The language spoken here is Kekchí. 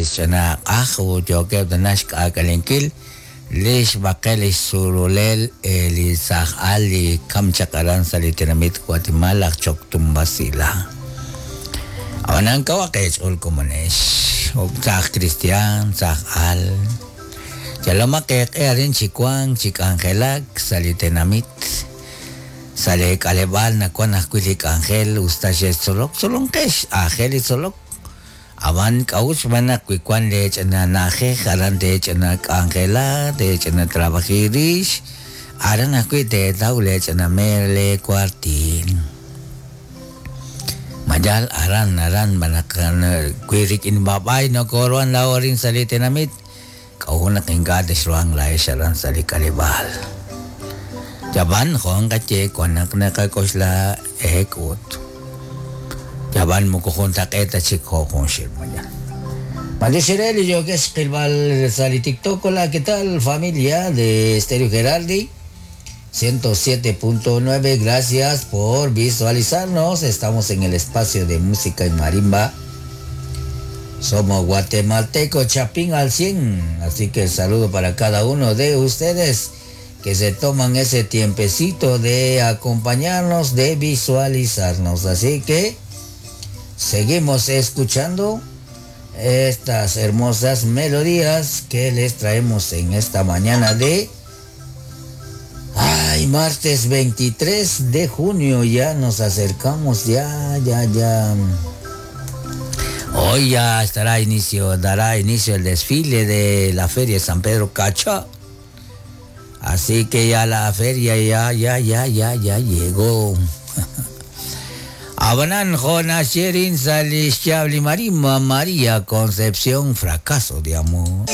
Ch'ina q'aj ut yookeb' tana xk'aak'alenkil li xb'aqel li xsululel li saaj al li kam chaq aran sa' li tenamit Guatemala aj Choctumbasila. Ab'anan kawaq eech'ool komonex, saaj kristiaan, saaj al. Yalomaq eeq'e arin chi wank chi k'anjelak sa' li tenamit. Sa' lee k'aleb'aal nawank ajwi' li k'anjel usta xextzolok, tzolonqex, aajel li tzolok. Ab'an k'a'ut xb'aan naq wi wank lee ch'ina na'ajej aran teech'ina k'anjela, teech'ina trabaji rix, aran ajwi' teetaw lee ch'ina meer lee kuartiil. Ma yaal aran aran b'an naq wi rik'in b'ab'ay nokoruhan laa'o arin sa' li tenamit, k'a'ut naq ink'a' texruhanq laa'ex aran sa' li k'aleb'aal. Yab'an jo' nqaye wan naq naqak'oxla eek'ut. Yab'an moko juntaq'eet ta chik jo' junxil mañana. B'antiox re li yookex xqilb'al sa' li TikTok. Hola, ¿qué tal, familia de Estéreo Gerardi? 107.9, gracias por visualizarnos. Estamos en el espacio de música y marimba. Somos guatemalteco Chapín al 100. Así que el saludo para cada uno de ustedes que se toman ese tiempecito de acompañarnos, de visualizarnos. Así que seguimos escuchando estas hermosas melodías que les traemos en esta mañana de... Ay, martes 23 de junio, ya nos acercamos, ya, ya, ya. Hoy ya estará inicio, dará inicio el desfile de la Feria de San Pedro Cacha. Así que ya la feria ya, ya, ya, ya, ya llegó. Abanan Jonas Sherin Salish Chabli Marima María Concepción Fracaso de Amor.